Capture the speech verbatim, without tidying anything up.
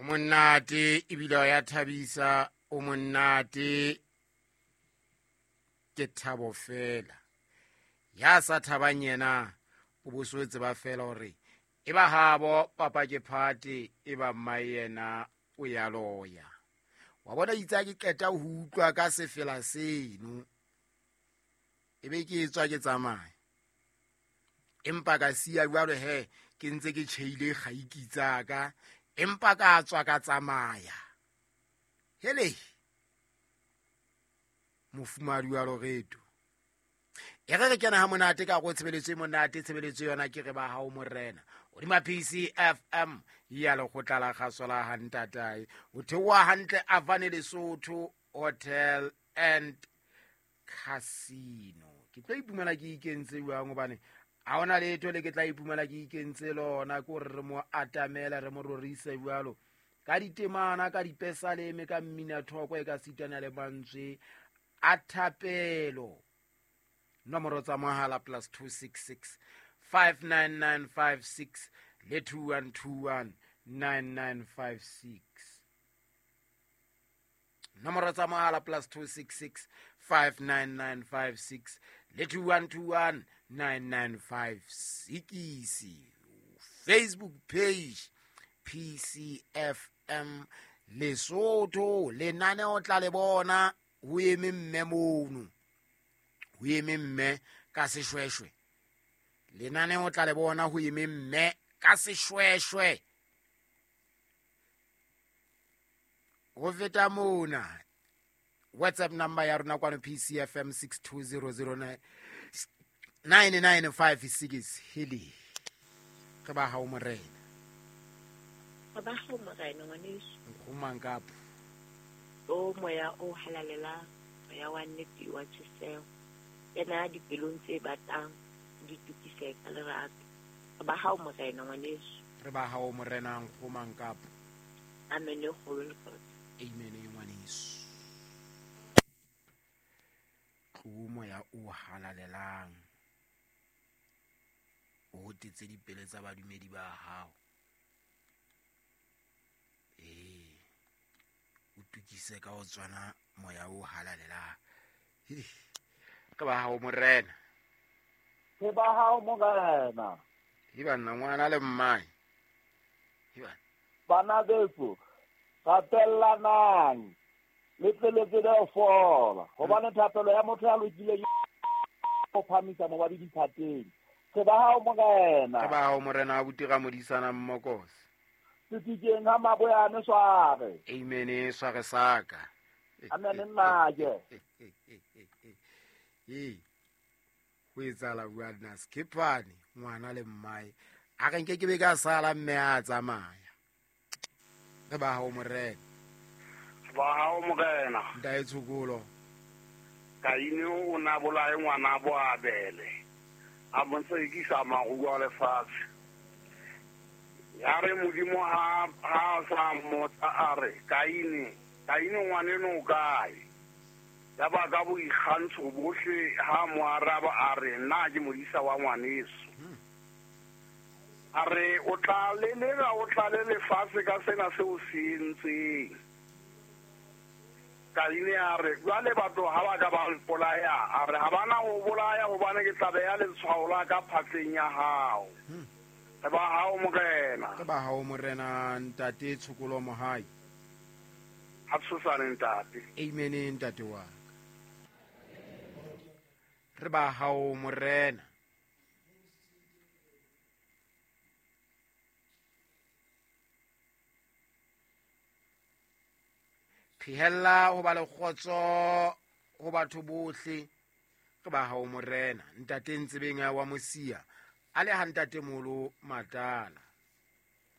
O monate ebile o ya thabisa, o monate ke thabo fela. Ya sa thabang yena o bo so tseba fela hore e ba habo papa ke phate e ba mma yena o ya loya. Wa bona itse ke qeta ho utlwa ka sefela seno e be ke tswa ke tsamaya. Empa ka siya jwalo he ke ntse ke tjheile kgaiki tsa ka, empa ka tswa ka tsamaya. Hele mofumadi wa Loreto. E re re kena ha monate ka go tshebeletso e monate, tshebeletso yona ke re ba hao morena. Hodima P C F M ya lekgotla la kgaso la ha ntatae. O theoha hantle Avane Lesotho Hotel and Casino. Ke tlo ipumela ke ikentse jwang hobane ha hona letho le ke tla ipumela ke ikentse lona, ke hore re mo atamela re mo rorise jwalo ka ditemana, ka dipesaleme, ka mmina thoko e ka sitana le mantswe a thapelo. Nomoro tsa mohala plus two six six five nine nine five six le two one two one nine nine five six. Nomoro tsa mohala plus two six six five nine nine five six le two one two one nine nine five six. Facebook page P C F M Lesotho. Lenaneo tla le bona ho eme mme mono, ho eme mme ka seshweshwe. Lenaneo tla le bona ho eme mme ka seshweshwe. Ho feta mona WhatsApp number ya rona kwano P C F M six two zero zero nine nine nine five six. Heli re ba hao morena. Re ba hao morena ngwaneso. Nkgomang kapo. O moya o halalelang, moya wa nnete wa tjheseho. Kena dipelong tse batang di tukise ka lerato. Re ba hao morena ngwaneso. Re ba hao morena nkgomang kapo. Amen e kgolo le kgotso. Amen e ngwaneso. Tlo moya o halalelang o hotetse dipele tsa badumedi ba hao. Eh, o tukise ka ho tswana moya o halalelang. Ke ba hao morena. Ke ba hao morena. E banna ngwana le mmae. E bana. Bana beso, rapellanang le tle le tsebe ho fola, hobane thapelo ya motho ya lokileng o phamisa mobadi diphateng. Ke ba hao morena. Ke ba hao morena a butira modisana mmokose. Setikeng ha maboyane sware. Amen sware saka. Amen nnake. Eh. Ho etsala bua nna Skipane ngwana le mmae. A re nke ke be ka sala mme a tsamaya. Re ba hao morena. Ba hao morena. Ntae tshokolo. Kaine o na bolae ngwana bo Abele. A montsekisa maruo a lefatshe. Ya re Modimo ha ha sa mmotsa a re Kaine, Kaine ngwaneno o kae? Ya ba ka boikgantsho bohle ha mo araba a re nna ke modisa wa ngwaneso. A re o tla lelera o tla le lefatshe ka sena seo se entseng. Kaine a re jwale batho ha ba ka ba mpolaya, a re ha bana ho bolaya hobane ke tla beha letshwao la ka phatleng ya hao. Re ba hao morena. Re ba hao morena ntate Tshokolo Mohai. Ha tshosane ntate. Amen ntate wa. Re ba hao morena. Phehella ho ba le kgotso ho batho bohle. Re ba hao morena. Ntate Ntsebeng wa Mosia a le ha ntate Molo Matala.